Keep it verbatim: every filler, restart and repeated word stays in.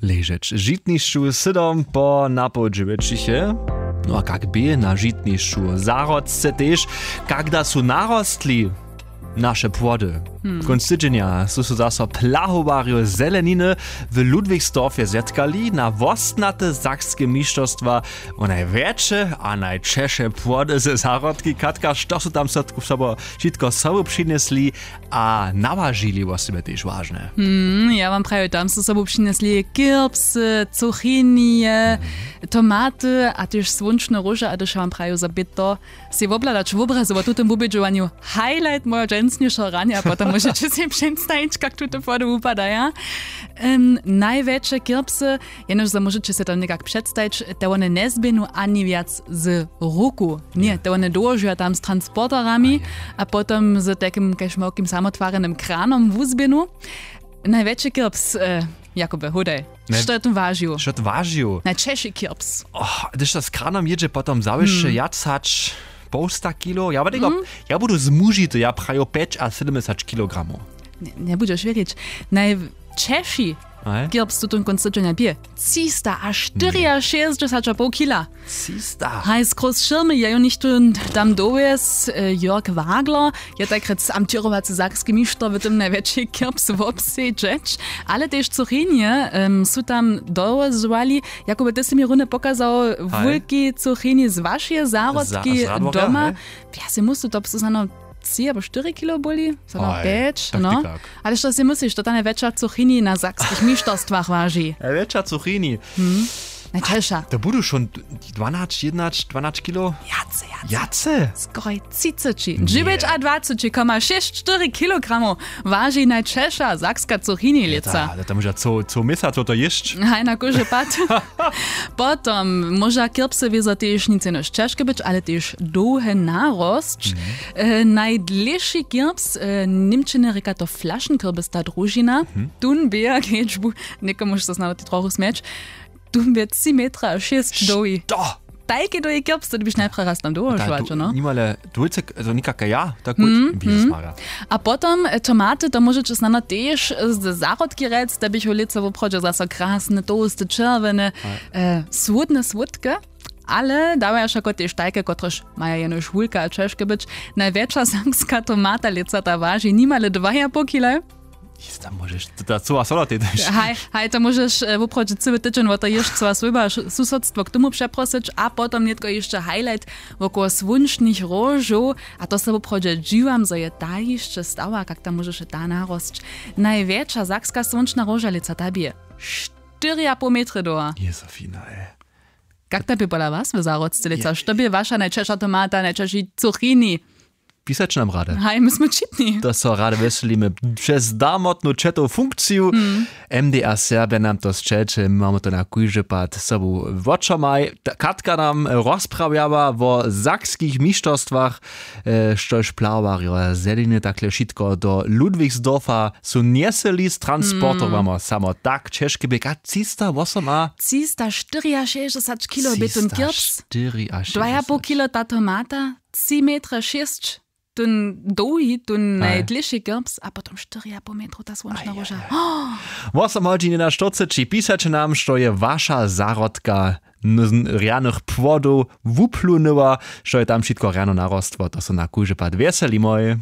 Ležeć w žitnišću sydom po napoł dźewjećich je. No a kak bě na žitnišću w zahrodce tež, kak da su narostli naše płody? Kónc tydźenja su so zaso plahowarjo zeleniny w Ludwigsdorfje zetkali na wostnate sakske mišterstwa wo najwjetše a najćeše płody ze zahrodki. Katka, što su tam so sobo wšitko sobu přinjesli a nawažili, wosebje tež wažne? Hmm, ja wam prajuj, tam su sobu přinjesli kirpsy, cuchinije, tomaty a tež słónčne róže. A hdyž ja wam prajuj, zo bě to sej wobhladać wobrazy wo tutym wubědźowanju highlight mojeho dźensnišeho ranja, potom móžeće sej předstajić, kak tute płody wupadaja. Em, najwjetše kirpsy, jenož zo móžeće sej to někak předstajić, te wone njezběhnu ani wjac z ruku. Ně, te wone dołožuja tam z transporterami a potom z takim kaž małkim samotwarenym kranom wuzběhnu. Najwjetši kirps, e, Jakube, hudaj, što je tu wažił? Što tu wažił? Najćeši kirps. Oh, hdyž to z kranom jědźe, potom zawyše wjac hač połsta kilo. Ja wam, ja budu zmužity, ja praju pjeć a sydomdźesać kilogramow. Nje, njebudźeš wěrić. Najćeši kirps tutón kónc tydźenja bě třista a štyriašěsćdźesać a poł kila. Haj, z króz šěrmy je jo něchtó tam dowjez, e, Jörg Wagler je tajkrjec amtěrowacy sakski mišter w tym najwjetši kirps wobsedźeć, ale tež cuchinje, em, su tam dowozowali. Jakub, ty sy mi runje pokazał wulki cuchini z wašeje zahrodki doma. Ja sej muslu, to su snano tři abo štyri kilo byli, snano pjeć, no. Ale što sej mysliš, to ta najwjetša cuchini na sakskich mišterstwach waži? Najwjetša cuchini. Najćeša. To budu šón dwanać, jednać, dwanać kilo. Wjace, wjace. Wjace? Skoraj třiceći. Dźewjećadwaceći koma šěsć štyri kilogramow waži najćeša sakska cuchini lětsa. To, to móža co, co měsac to jěsć. Haj, na kóždy pad. Potom móža kirpsy wězo tež nic jenož ćežke być, ale tež dołhe narosć. E, najdlěši kirps, e, w němčiny rěka to flašenkürbis, ta družina. Tón bě, kedźbu někomuž so snano tej trochu smjeć, tón bě tři metra a šěsć dołhi. Što? Tajki dołhi kirps, to ty byš najprjedy raz tam dołožować, no? Nimale dwójce, to někaka ja, tak gut, Jezus Maria. A potom, e, tomaty, to móžeće snano tež, e, z zahrodki rjec, te běchu lětsa woprawdźe zaso krasne, tołste, čerwjene, e, słódne słódke. Ale dawaja wšako tež tajke, kotrež maja jenož wulke a ćežke być. Najwjetša sakska tomata lětsa ta waži nimale dwa a poł kila. Jista, móžeš, to ta cyła sola tej dać. Haj, haj, to móžeš, e, woprawdźe cyły tydźeń wo to jěšćcowa swójba, š-, susodstwo k tomu přeprosyć a potom nětko hišće highlight wokoło słónčnych róžow. A to se woprawdźe dźiwam, zo je ta hišće stała, kak tam móžeše ta narosć. Najwjetša sakska słónčna róža lětsa ta bě štyri a poł metry dołha. Jezofina, ej. Kak to bě pola was w zahrodce lětsa? Što bě waša najćeša tomata, najćeši cuchini? Pisaće nam rady. Haj, my smy wčitni. To so rady wjeselimy přez darmotnu četow funkciju. M D R Serbja nam to sćelće, mamy to na kóždy pad sobu wočomaj. Katka nam rozprawjała wo sakskich mišterstwach, e, štož plahowarjo zeleniny takle wšitko do Ludwigsdorfa su njeseli z transporterjama. Samo tak ćežke bě, a třista wosoma, třista štyriašěsćdźesat kilo bě tón kirps. Dwa a poł kilo ta tomata, tři metry šěsć tón dołhi, tón najdlěši kirps a potom štyri a poł metru ta słónčna róža. Wosomhodźinjena štyrceći, pisaće nam, što je waša zahrodka rjanych płodow wuplunyła, što je tam wšitko rjano narostło, to so na kóždy pad wjeselimoj.